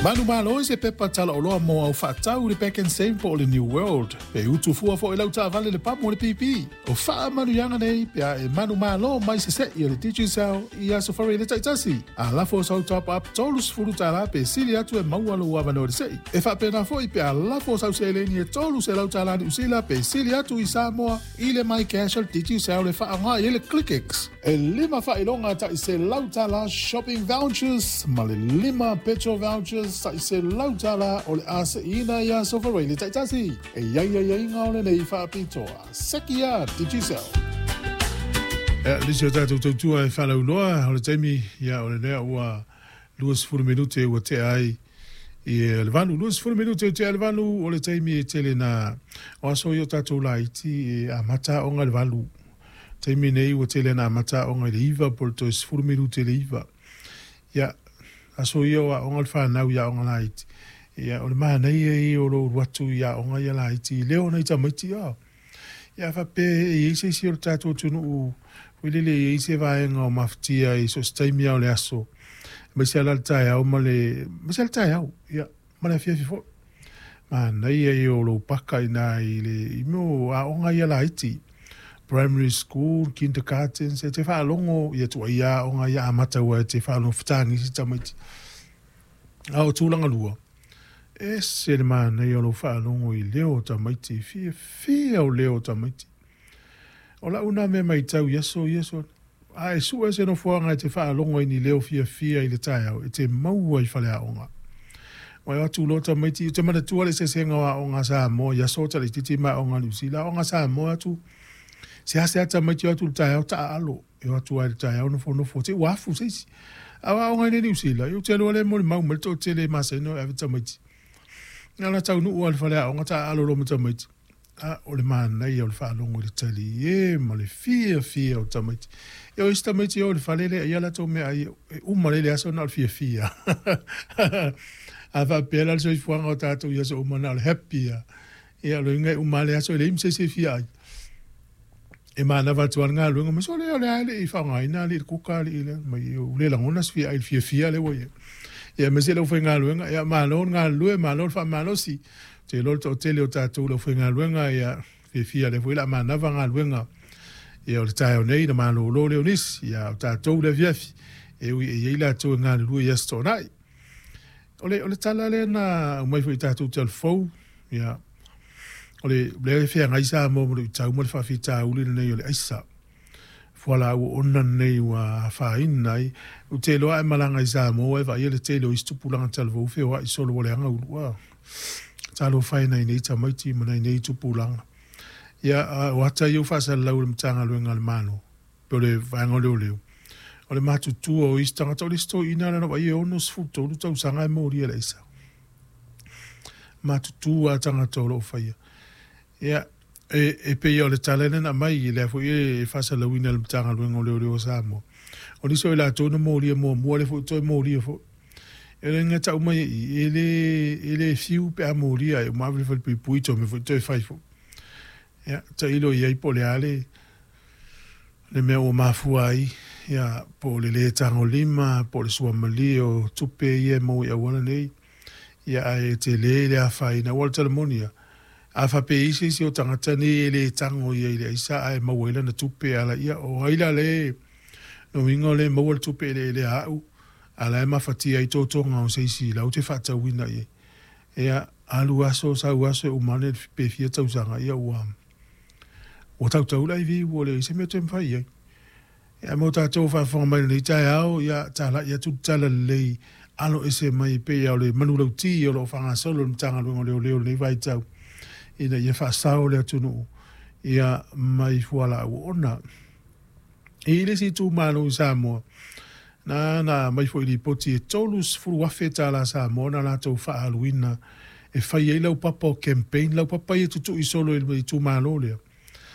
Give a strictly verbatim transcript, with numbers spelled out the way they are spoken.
Manumalo i se pepa talaoloa mo au faatau i le Pak'nSave po o le New World. Pe utu fua foi lau taavale le pamu o le pipi. O faamanuiaga nei pe a e manumalo mai sese'i o le Digicel i aso Faraile taitasi. A lafo sau top up tolu sefulu tala pe sili atu e maua lou avanoa i le se'i. E faapena foi pe a lafo sau seleni e tolu selau tala Niu Sila pe sili atu i Samoa i le MyCash o le Digicel e faaaoga i ai le ClickX. E lima faailoga ta'i selau tala shopping vouchers ma le lima petrol vouchers ta'i selau tala o le a se'iina i aso Faraile taitasi. E iai aiaiga o lenei faapitoa. Sekia Digicel. Ia, nisi o tatou tautua e faalauiloa o le taimi, ia, o le lea ua luasefulu minute ua tea ai i le valu, luasefulu minute ua tea ai le valu. O le taimi e tele na o aso ia o tatou laiti e amata aoga i le valu. Taimi nei ua tele na amata aoga i le iva po o le toe sefulu minute i le iva. Ia, aso ia o aoga le fanau i aoga laiti. Ia, o le manaia ia o lou alu atu i aoga ia laiti i leo nai tamaiti a. Ia, faapea e i ai se isi o le tatou atunuu foi lele e i ai se vaega o mafatia i so o se taimi lava o le aso, aemaise lava la le taeao ma le aemaise lava le taeao, ia, ma le afiafi foi. Manaia ia o lou paka i ina i le i mea o aoga ia laiti, primary school, kindergarten, e te faalogo ia tuaia aoga ia amata aua e te faalogo fetagi isi tamaiti. A o tulaga lua, e ese le manaia o lou faalogo i leo o tamaiti, fiafia o leo o tamaiti. O lau na mea matau i aso ia so, a e sue se nofoaga e te faalogo ai i ni leo fiafia i le taeao, e te maua i faleaoga. Ua e atu loa tamaiti, ou te manatua le eseesega o aoga a Samoa i aso talaitiiti ma aoga a Niu Sila. Aoga a Samoa atu, seasea tamaiti o atu i le taeao taaalo. E o atu lava i le taeao nofonofo te i ua afu se isi. A o aoga i nei Niu Sila, ou te iloa lea e molimau mai le toatele e masani ona ave tamaiti. Na ona taunuu lava i le faleaoga taaalo loa ma tamaiti. A o le manaia o le faalogo i le talie ma le fiafia o tamaiti. Ia o isi tamaiti e o i le fale lea ia latou meaai e uma lea i le aso na o le fiafia. A faapea la le soifuaga o tatou i aso uma na o le happy lava. Ia o le uiga e uma lava le aso e leai ma se isi e fia ai. E manava atu lava le galuega ma sole o le a e le i faaaogaina alii le kuka alii le mai ua le lagona se fia ai i le fiafia lea ua i ai. Ia aemaise le aufaigaluega, ia malo le galulue, malo le faamalosi. Ou te iloa le toatele o tatou le aufaigaluega, ia fiafia lea foi o le a manava galuega. Ia o le taeao nei na malolo lea o nisi, ia o tatou le afiafi, e ui e i ai latou e galulue i Aso Toonai. O le, o le tala lea na aumai foi i tatou talufofu, ia, o le lea e feagai Samoa ma luitau ma le faafitauli lenei o le aisa. Fualaau oona lenei ua afaina ai. Ou te iloa a e malaga i Samoa e vaaia le tele o isi tupulaga talavou feoai solo ua leaga ulu'a. Talofa e nai nei tamaiti ma nai nei tupulaga. Ia, o ata ia ua faasalalau e le Matagaluega a le Malo, po o le Vaega o Leoleo, o le matutua o isi tagata, o le isi toeaina lana vaaia e onosefulu tolu tausaga e molia i le aisa. Matutua tagata o lo o faia. Ia, e, e pei o le tala lea na aumai, lea foi e faasalalauina e le Matagaluega o Leoleo o Samoa. O nisi o i latou na molia muamua, lea foi toe molia foi. E le gata uma i i, e le, e le fiu pe a molia e uma ave i le falepuipui toe omai foi toe fai foi. Ia, tailo i ai po o le a le, le mea ua mafua ai, ia, po o le lē tagolima, po o le suamalie o tupe ia e maua i auala nei, ia, ae tele le afaina. Aua o le tala moni lava, a faapea e i ai se isi o tagata nei e le tago ia i le aisa ae maua ai lana tupe ala, ia, o ai la le lona uiga o lea e maua le tupe eleelea a au, a o la e mafatia ai totoga o se isi latou te faatauina i ai. Ia, alu aso sau aso e uma ane pe fia tausaga, ia ua ua tautau le aivi ua leai se mea toe mafai i ai. Ia mo tatou faafofoga mai i lenei taeao, ia talai atu le tala lelei alo ese mai pei o le manulauti o lo o faagasolo le Matagaluega o Leoleo i lenei vaitau ina ia faasao le atunuu ia mai fualaau oona. E i ai le isi itumalo i Samoa na na aumai foi i lipoti e tolu sefulu afe tala Samoa na latou faaaluina e fai ai laupapa o campaign, laupapa ia e tutui solo i le itumalo lea.